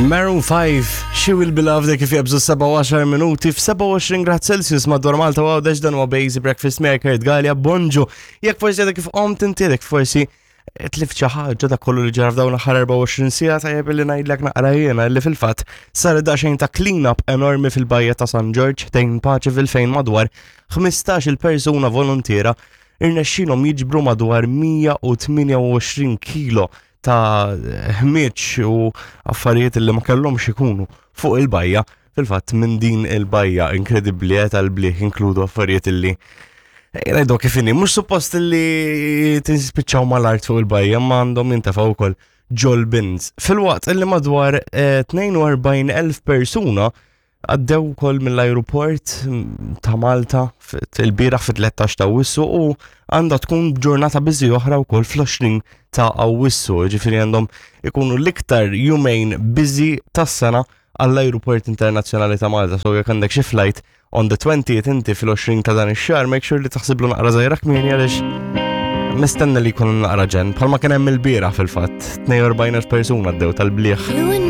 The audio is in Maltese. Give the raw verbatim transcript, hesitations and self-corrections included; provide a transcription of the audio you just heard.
Maroon five, She Will Be Loved, kif jabżu sebgħa u għaxar minuti f'sebgħa u għoxrin grad Celsius madwar Malta u Għawdex. Dan huwa Bejzi Breakfast miegħek Kurt Galea. Bonġu. Jekk forsi għadek kif qomt inti, jekk forsi tlift xi ħaġa ta' kollu li ġara f'dawn l-aħħar erbgħa u għoxrin siegħa, tajjeb li ngħidlek naqra jiena li fil-fatt sar daqsxejn ta' clean-up enormi fil-bajja ta' San Ġorġ tejn Paċeville, fejn madwar ħmistax-il persuna volontiera irnexxilhom jiġbru madwar mija u tmienja u għoxrin kilo ta' ħmieġ u affarijiet li ma kellhomx ikunu fuq il-bajja. Fil-fatt minn din il-bajja inkredibbli eh, tal-bliħ inkludu affarijiet illi, ngħidu kif inhi, mhux suppost li tispiċċaw mal-art fuq il-bajja, ma għandhom jintefgħu wkoll ġol-bins. Filwaqt illi madwar eh, tnejn u erbgħin elf persuna għaddew ukoll mill-aeroport mm, ta' Malta il-bieraħ fit-tlettax ta' Awwissu u għandha tkun ġurnata busy oħra wkoll fl-għoxrin ta' Awwissu, ġifieri għandhom ikunu l-iktar jumejn busy tas-sena għall-Aeroport Internazzjonali ta' Malta. So jekk għandek xi flight on the twentieth inti, fil-għoxrin ta' dan ix-xahar, make sure li taħsiblu naqra żgħira kmieni għaliex mistenna li jkun naqra ġenn, bħalma kien hemm il-bieraħ fil-fatt, tnejn u erbgħin elf persuna għaddew tal-bliħ. You and